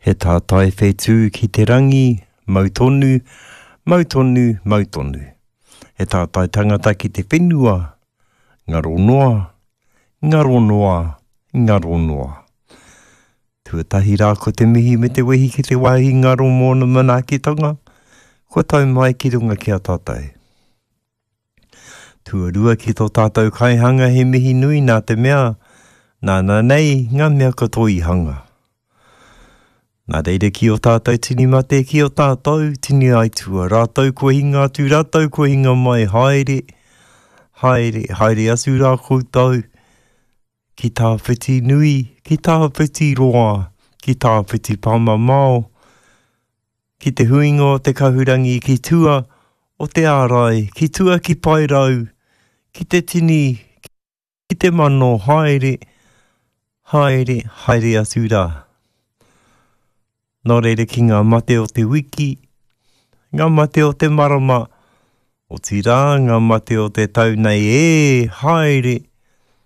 He tātai whetū ki te rangi, mau tonu, mau tonu, mau tonu. He tātai tangata ki te whenua, ngaro noa, ngaro noa, ngaro noa. Tuatahi rā ko te mihi me te wehi ki te wāhi ngaro mōna manaakitanga, kua tau mai ki runga ki a tātou. Tuarua ki tō tātou kaihanga he mihi nui nā te mea, nāna nei ngā mea katoa i hanga. Nā reira ki ō tātou tini mate, ki ō tātou tini aitua, rātou kua hinga atu, rātou kua hinga mai, haere, haere, haere atu rā koutou ki tāwhiti nui, ki tāwhiti roa, ki tāwhiti pāmamao, Ki te huinga o te kahurangi ki tua o te ārai, ki tua ki Paerau, ki te tini, ki te mano, haere, haere, haere atu rā. Nō reira ki ngā mate o te wiki, ngā mate o te marama, otirā ngā mate o te tau nei, ē, haere!